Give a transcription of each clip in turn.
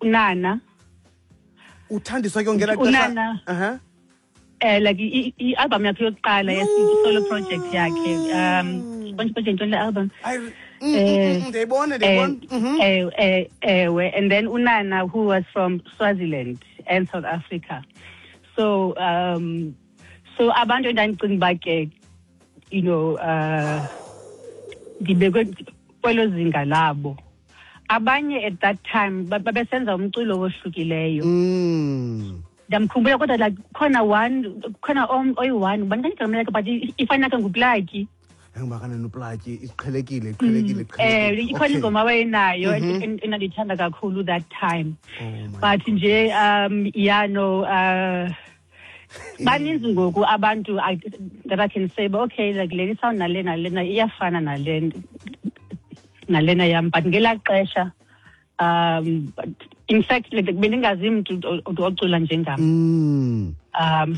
Unana. Uthandiswa ke ngela xesha. Unana. Like i-album yakhe yokuqala, solo project yakhe, konje ntoni le album? Ndiyayibona, ndiyayibona. Ewe, and then unana, who was from Swaziland and South Africa. So abantu endandicinga uba ke ndibekwe kwelo zinga labo. Abanye at that time babesenza umculo wohlukileyo. Ndiyamkhumbula kodwa, like khona one, khona oyi-one, ubani kanti igama lakhe, but ifana ke nguPlaki. Engibakanani uPlaki, iqhelekile, iqhelekile, iqhelekile. Ikhona ingoma awayenayo endandiyithanda kakhulu that time. Oh my. But nje yeah, no, baninzi ngoku abantu that I can say, but okay, like le sound nalena lena iyafana nale nalena yam, but ngelaa xesha, but in fact, like bendingazi mntu ocula njengam.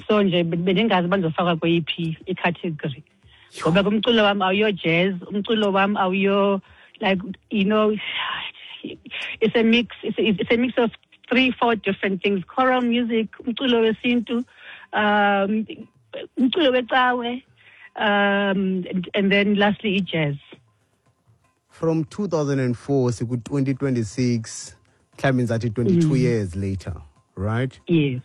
So nje bendingazi uba ndizofakwa kweyiphi icategory, ngoba ke umculo wam awuyo jazz, umculo wam awuyo, like, it's a mix, it's a mix of three, four different things: choral music, umculo wesintu, umculo wecawe, and then lastly i-jazz. From 2004 siku-2026, mhlawumbi ndizathi 22 years later, right? Yes.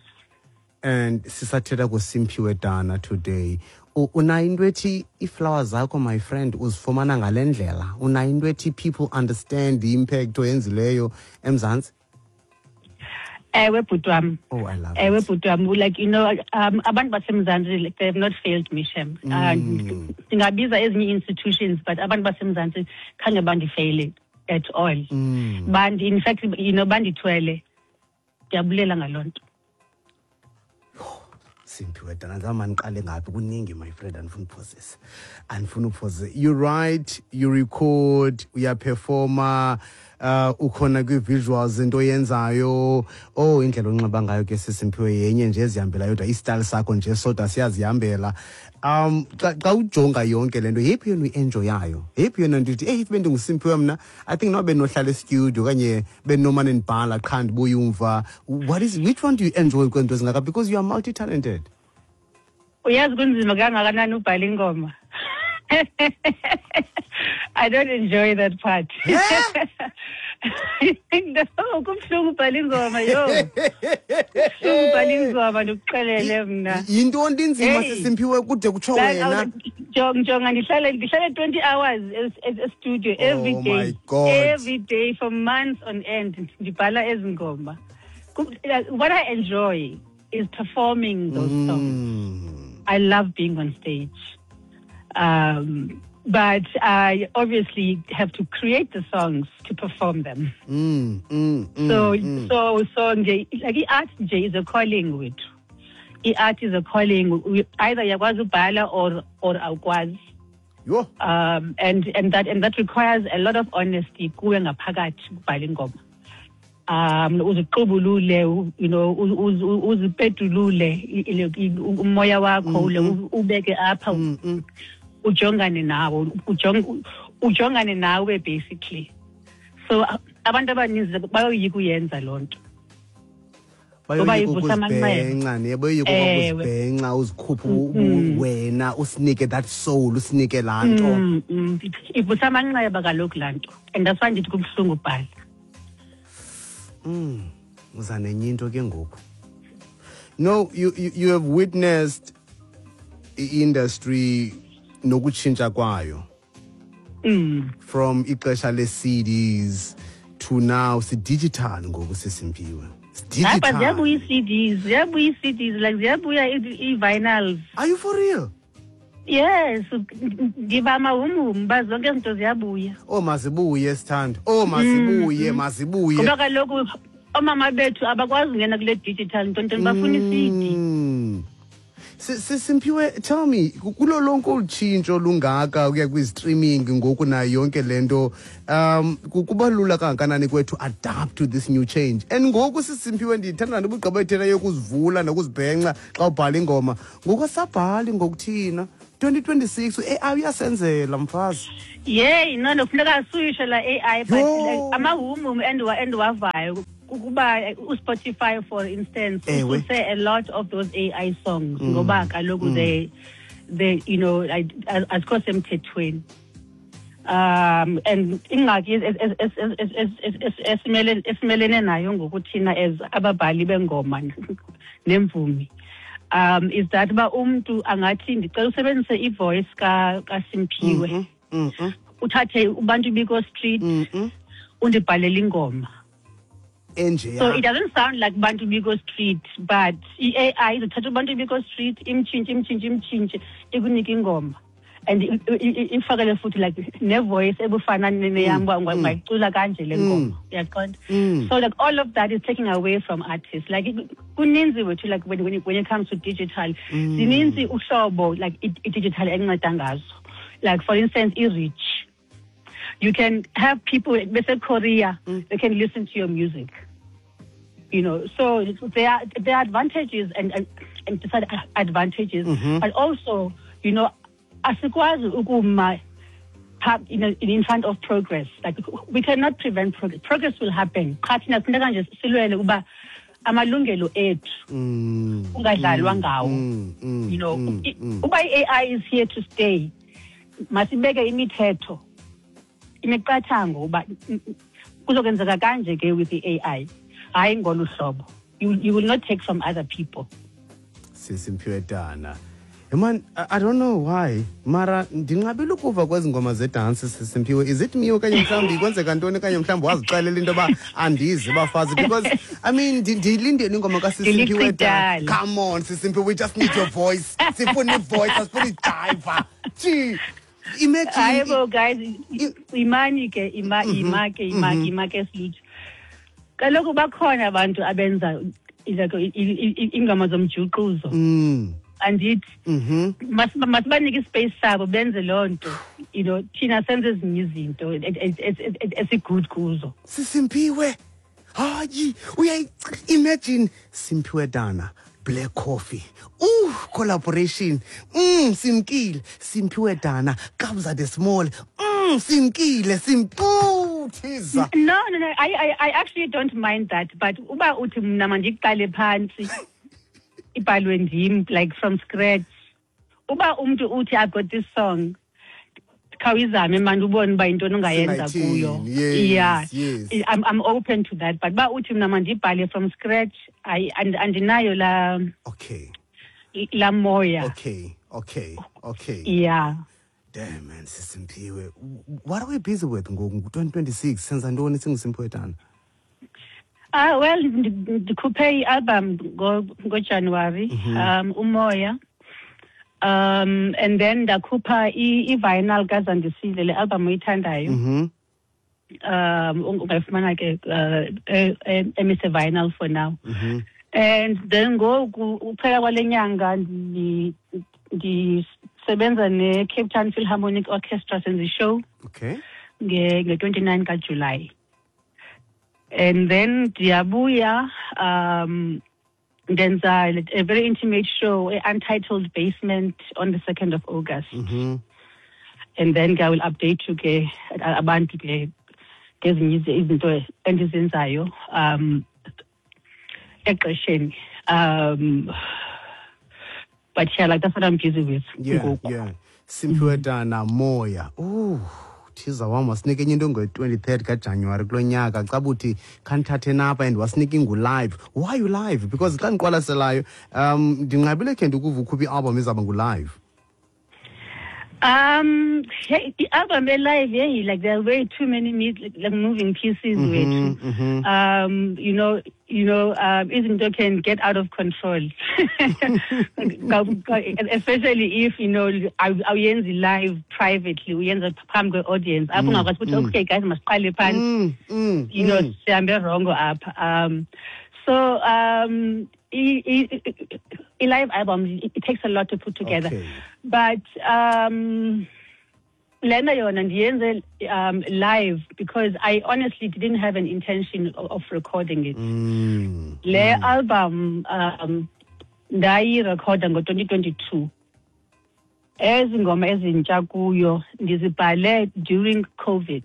And sisathetha kuSimphiwe Dana today. Unayo into ethi iiflower zakho, my friend, uzifumana ngale ndlela? Unayo into ethi people understand the impact oyenzileyo eMzantsi? Ewe, bhuti wam. Oh, I love Ewe, it. bhuti wam, like abantu baseMzantsi, like, they have not failed me, shem. Ndingabiza ezinye institutions, but abantu baseMzantsi khange bandifeyile at all. Bandi, in fact, bandithwele. Ndiyabulela ngaloo nto. Simphiwe Dana, ndizama ndiqale ngaphi? Kuningi, my friend, andifuna uphosisa, andifuna uphosisa. You write, you record, uyaperforma, ukhona kwi-visuals, into oyenzayo. Oh, indlela onxiba ngayo ke, siSimphiwe, yenye nje ezihambela yodwa, istyle sakho nje sodwa siyazihambela. Xa ujonga yonke le nto, yeyiphi yona uyi-enjoyayo? Yeyiphi yona nto ithi, "Eyi, if bendinguSimphiwe mna, I think noba bendinohlala estudio okanye bendinomane ndibhala qha ndibuye umva"? What is, which one do you enjoy kwezinto ezingaka, because you are multi-talented? Uyazi kunzima kangakanani ubhala ingoma? I don't enjoy that part. No, kubuhlungu ubhala ingoma, yo, kubuhlungu ubhala ingoma, ndikuxelele mna. Yintoni inzima? Hey. Sisimphiwe, kude kutsho Like, wena. Jonga, ndihlale 20 hours e-studio every Oh day. my God. Every day for months on end ndibhala ezi ngoma. Like, what I enjoy is performing those songs. I love being on stage. But I obviously have to create the songs to perform them. So so nje, like, i-art nje is a calling wethu. I-art is a calling. Either uyakwazi ubhala or awukwazi. Yho. And that requires a lot of honesty kuwe ngaphakathi ukubhala ingoma. Uziqubulule, uzipetulule umoya wakho, ubeke apha, ujongane nawo, ujongane nawe basically. So abantu abaninzi bayoyika uyenza loo nto. Ngoba Bayoyika ivusa amanxeba. ukuzibhenca, ne bayoyika Ewe. ukuzibhenca, uzikhuphe wena, usinike that soul, usinike laa nto. Ivusa amanxeba kaloku laa nto, and that's why ndithi kubuhlungu ubhala. Uza nenye into ke ngoku. No, you have witnessed i-industry nokutshintsha kwayo from ixesha le-CDs to now si-digital ngoku, Sisimphiwe. Hayi, but Digital. Ziyabuya ii-CDs, ziyabuya ii-CDs, like ziyabuya ii-vinyls. Are you for real? Yes, ndiba amahumhum uba zonke ezi zinto ziyabuya. Oh, mazibuye, sithando. Oh, mazibuye, mazibuye. Ngoba kaloku oomama bethu abakwazi ungena kule digital ntontoni, bafuna i-CD. Simphiwe, tell me, kulo lonke olu tshintsho lungaka ukuya kwi-streaming ngoku nayo yonke le nto, kuba lula kangakanani kwethu adapt to this new change? And ngoku, Sisimphiwe, ndithanda nto ubugqiba ethetha yokuzivula nokuzibhenca xa ubhala ingoma. Ngoku asabhali ngokuthina. 2026 u-AI uyasenzela, mfazi. Yeyi, no, funeka suyisho la AI, but Yho. like, amahumhum endiwavayo kukuba uSpotify, for instance, ususe a lot of those AI songs ngoba kaloku they like, azikho semthethweni. And ingxaki esimelene nayo ngoku thina as ababhali bengoma nemvumi is that uba umntu angathi, "Ndicela usebenzise ivoice kaSimphiwe, uthathe uBantu Biko Street, undibhalele ingoma." Enje. So it doesn't sound like Bantu Biko Street, but i-AI izothatha uBantu Biko Street, imtshintshe, imtshintshe, imtshintshe, ikunike ingoma and ifakele futhi like nevoice ebufana neyam, uba ungayicula kanje le ngoma, uyaqonda? So like all of that is taking away from artists. Like kuninzi wethu, like when it comes to digital, zininzi uhlobo like i-digital enceda ngazo. Like, for instance, i-reach, you can have people bese-Korea, they can listen to your music. So there are advantages and disadvantages, but also, asikwazi ukuma in front of progress. Like, we cannot prevent progress. Progress will happen. Qha thina kufuneka nje silwele ukuba amalungelo ethu ungadlalwa ngawo. Uba i-AI is here to stay, masibeke imithetho, imiqathango uba kuzokwenzeka kanje ke with the AI. Hayi ngolu hlobo. You will not take from other people. Sisimphiwe Dana. Man, I don't know why. Mara ndinqabile ukuva kwezi ngoma zedansi, Sisimphiwe. Is it me okanye mhlawumbi kwenzeka ntoni, okanye mhlawumbi wazixelela into yoba andizi bafazi? Because I mean, ndiyilindele ingoma kaSisimphiwe Dana. Ndiliqidala. Come on, Sisimphiwe, we just need your voice. Sifuna ivoice, asifuna ijiva. Gee, imagine. Hayi bo guys, imani ke, ima ima ke, ima ima ke silutho. Kaloku bakhona abantu abenza like ingoma zomjuquzo. Andithi masibanike ispace sabo benze loo nto. Thina senze ezinye izinto esigood kuzo. Sisimphiwe. Hayi, uyayi imagine Simphiwe Dana, Black Coffee. Ooh, collaboration. Simkile. Simphiwe Dana, Kabza the Small. Simkile, Simpu Thiza. No, I actually don't mind that, but uba uthi mna mandiqale phantsi ibhalwe ndim like from scratch. Uba umntu uthi, "I've got this song, khawuyizame mani ubone uba yintoni ongayenza Singayithini, kuyo." Yes, Yeah. yes. I'm open to that, but uba uthi mna mandibhale from scratch, andinayo la la moya. Okay. Yeah. Damn man, Sisimphiwe. What are we busy with ngoku 2026? Senza ntoni singuSimphiwe Dana? Ah, well, ndikhuphe i-album ngoJanuary, uMoya. And then ndakhupha i-vinyl kaZandisile, le album oyithandayo. Ungayifumana ke emise vinyl for now. And then ngoku uphela kwale nyanga ndisebenza ne-Cape Town Philharmonic Orchestra, senza ishow nge-29 kaJuly. And then ndiyabuya, ndenza a very intimate show, a Untitled Basement, on the 2nd of August. And then ke I will update you ke abantu ke ngezinye izinto endizenzayo exesheni. But yeah, like, that's what I'm busy with ngoku. Yeah. Simphiwe Dana, Moya. Ooh, Thiza wam wasinike enye into ngo-23rd kaJanuwari kulo nyaka, caba uthi khandithathe napha, and wasinike ingu-live. Why you live? Because xa ndiqwalaselayo, ndinqabile khe ndikuva ukhupha i-album izawuba ngu-live. Hey, the album live, yeah, like there are way too many like moving pieces wethu. Izinto can get out of control, especially if awuyenzi live privately, uyenza phambi kwe-audience. Apho ungakwazi ukuthi, "Okay guys, masiqale phansi." Sihambe wrongo apha. So i-live album, it takes a lot to put together. But lena yona ndiyenze live because I honestly didn't have an intention of recording it. Le album ndayirekhoda ngo-2022. Ezi ngoma ezintsha kuyo ndizibhale during COVID,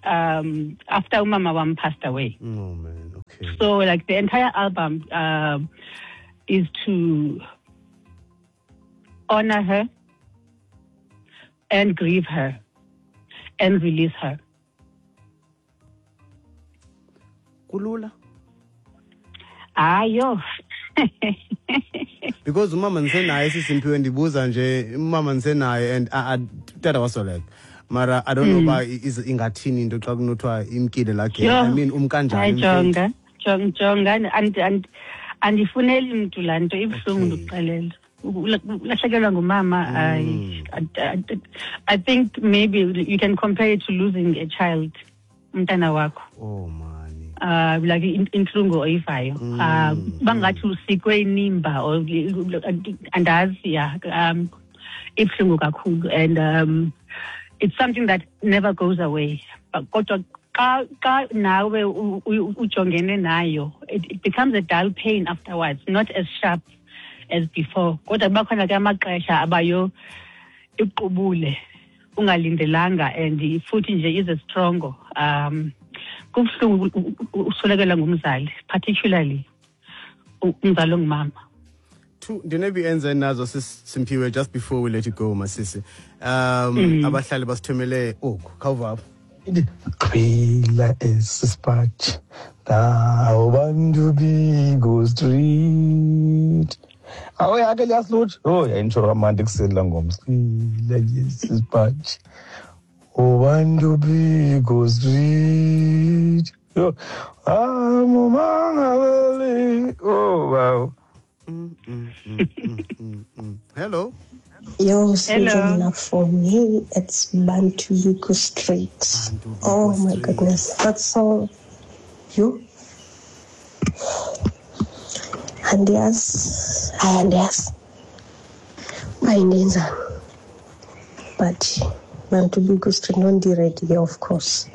after umama wam passed away. Oh man, okay. So like the entire album is to honor her and grieve her and release her. Kulula? Ayo. Because umama ndisenaye, siSimphiwe, ndibuza nje, umama ndisenaye and tata wasweleka. Mara I don't know uba ingathini into xa kunothiwa imkile laa girl. I mean, umkanjani? Hayi, jonga, jonga, andifuneli mntu laa nto ibuhlungu. Ndikuxelela, ulahlekelwa ngumama, I think maybe you can compare it to losing a child, umntana wakho. Oh man. Like intlungu oyivayo, bangathi usikwe inimba or andazi, ya, ibuhlungu kakhulu and it's something that never goes away. But kodwa xa nawe ujongene nayo, it becomes a dull pain afterwards, not as sharp as before. Kodwa kuba khona ke amaxesha abayo iqubule ungalindelanga and futhi nje ize strongo. Kubuhlungu uswelekelwa ngumzali, particularly umzali ongumama. Two ndinebe enze nazo, Simphiwe, just before we let you go, masisi. Abahlali basithumele oku, khawuva apho. Qhila esisipatshi nawo Bantu Biko Street. Awu yakhe liyasilutsha. Oh, yayintsho kamandi kuseni la ngoma. Qhila esisipatshi. Bantu Biko Street. Yo, amumangabeli. Oh, wow. Hello. Yo, Hello. Sinjamna, for me, it's Bantu Biko Street. Bantu Biko Oh my Street. Goodness, that's so you. Andiyazi, hayi, andiyazi uba indenzani, but Bantu Biko Street noNdiready ke, of course.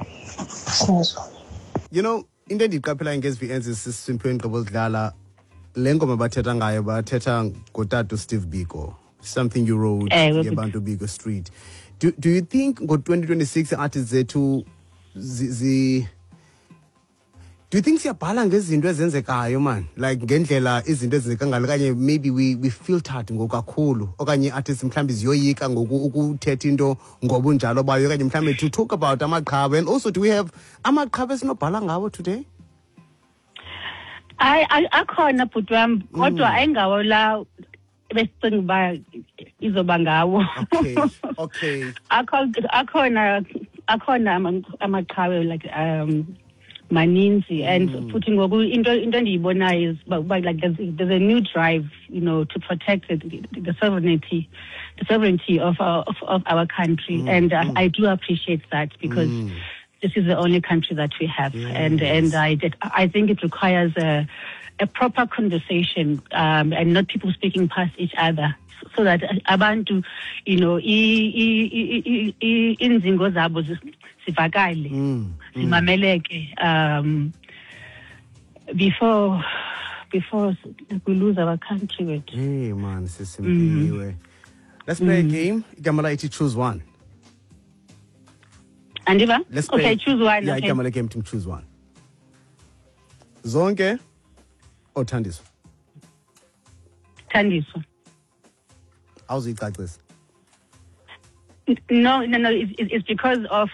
Sinazo. Into endiyiqaphelayo ngezi VNs, siSimphiwe, ngqobo zidlala le ngoma bathetha ngayo, bathetha ngotata Steve Biko, something you wrote. Ewe. Yebantu Biko Street. Do you think ngo-2026 artists zethu do you think siyabhala ngezinto ezenzekayo, man, like ngendlela izinto ezenzeka ngalo, okanye maybe we filtered ngokakhulu, okanye artists mhlawumbi ziyoyika ngoku ukuthetha into ngobunjalo bayo, okanye mhlawumbi to talk about amaqhawe? And also, do we have amaqhawe esinobhala ngawo today? Hayi, akhona, bhuti wam, kodwa ayingawo la besicinga uba izoba ngawo. Akhona amaqhawe, like maninzi, and futhi ngoku into endiyibonayo is uba like there's a new drive to protect the sovereignty of our country, and I do appreciate that because this is the only country that we have, and I think it requires a proper conversation and not people speaking past each other, so that abantu inzingo zabo zivakale, zimameleke before we lose our country wethu. Hey man, siSimphiwe, let's play a game. Igama la ithi choose one. Andiva. Let's play. Okay, choose one. Yeah. Okay. Igama le game, choose one. Zonke oThandiswa? Thandiswa. Awuzuyicacisa? No, it's because of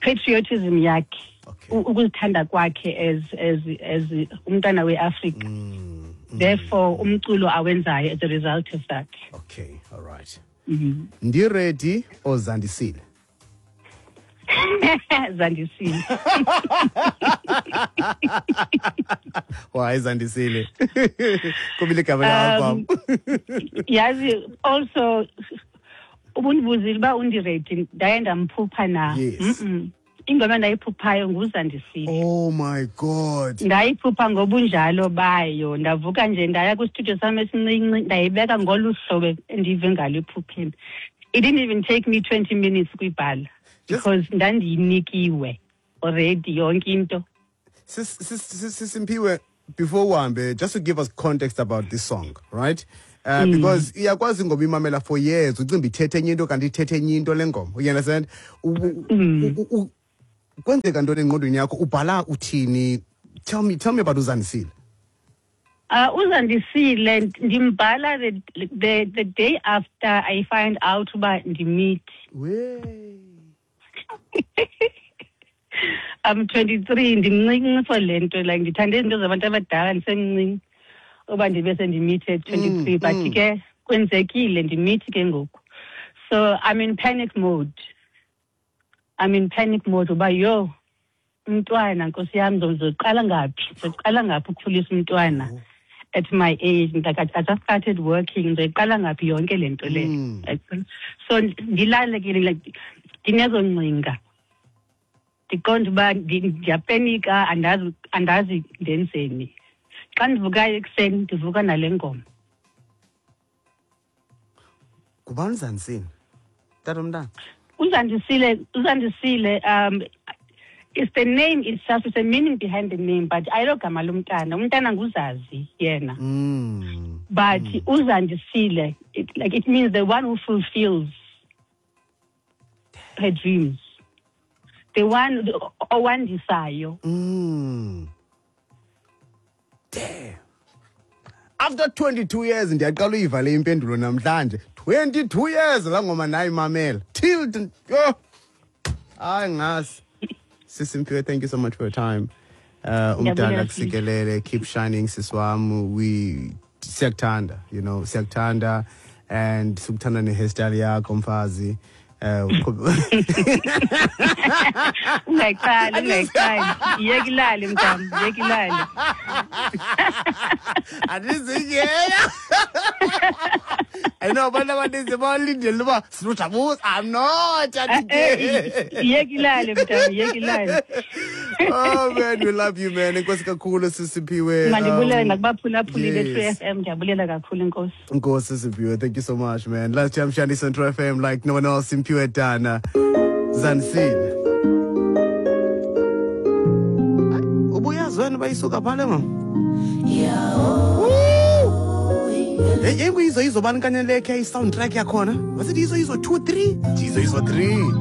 patriotism yakhe, ukuzithanda kwakhe as umntwana weAfrika. Therefore umculo awenzayo as a result of that. Okay, all right. Ndiready oZandisile? Zandisile. Why Zandisile? Kubile igama le-album. Yazi also ubundibuzile uba uNdiready ndaye ndamphupha na. Yes. Ingoma endayiphuphayo nguZandisile. Oh my God. Ndayiphupha ngobunjalo bayo, ndavuka nje ndaya kwistudio sam esincinci, ndayibeka ngolu hlobo endive ngalo ephupheni. It didn't even take me 20 minutes kuyibhala because ndandiyinikiwe already yonke into. SisSimphiwe, Before uhambe, just to give us context about this song, right? Because iyakwazi ingoma imamela for years, ucimba ithethe enye into kanti ithethe enye into le ngoma. You understand? Kwenzeka ntoni engqondweni yakho? Ubhala uthini? Tell me about Uzandisile. Uzandisile ndimbhala the day after I find out uba ndimithi. We. I'm 23, ndimncinci for le nto, like ndithande izinto zabantu abadala ndisemncinci uba ndibe sendimithi at 23, but ke kwenzekile, ndimithi ke ngoku. So I'm in panic mode. I'm in panic mode uba yho, umntwana, nkosi yam, ndizoqala ngaphi? Ndizoqala ngaphi ukukhulisa umntwana at my age? Like I just started working, ndizoyiqala ngaphi yonke le nto le? Like, so ndilale ke, like ndinezo ngcinga. Ndiqonda uba ndiyapenika, andazi ndenzeni. Xa ndivukayo ekuseni ndivuka nale ngoma. Ngubani Uzandisile? Tata umntana. Uzandisile, it's the name itself, it's the meaning behind the name, but ayilogama lomntana. Umntana nguZazi yena. But Uzandisile, it means the one who fulfills her dreams. The one owandisayo. Damn. After 22 years ndiyaqala uyiva le impendulo namhlanje. 22 years la ngoma nayimamela. Till oh. Hayi ngasi. Sisimphiwe, thank you so much for your time. Umdala kusikelele, keep shining siswam. We siyakuthanda, you know, siyakuthanda and sikuthanda ne hairstyle yakho mfazi. Ungayiqali. Yeka ilale mntam, yeka ilale. Andizinyela. I know abantu abaninzi balindele uba sinojabuza. I'm not. Yeka ilale mntam, yeka ilale. Oh man, we love you man. Enkosi kakhulu Sisiphiwe. Mandibulela nakubaphulaphuli be-True FM, ndiyabulela kakhulu, enkosi. Enkosi Sisiphiwe, thank you so much man. Last time Shani Central FM like no one else, Simphiwe Dana. Zansile. Ubuyazi wena bayisuka phale mama? Hey, hey, yizo bani kanye lekhe i-soundtrack yakhona? Was it Yizo Yizo 2 3? Yizo Yizo 3.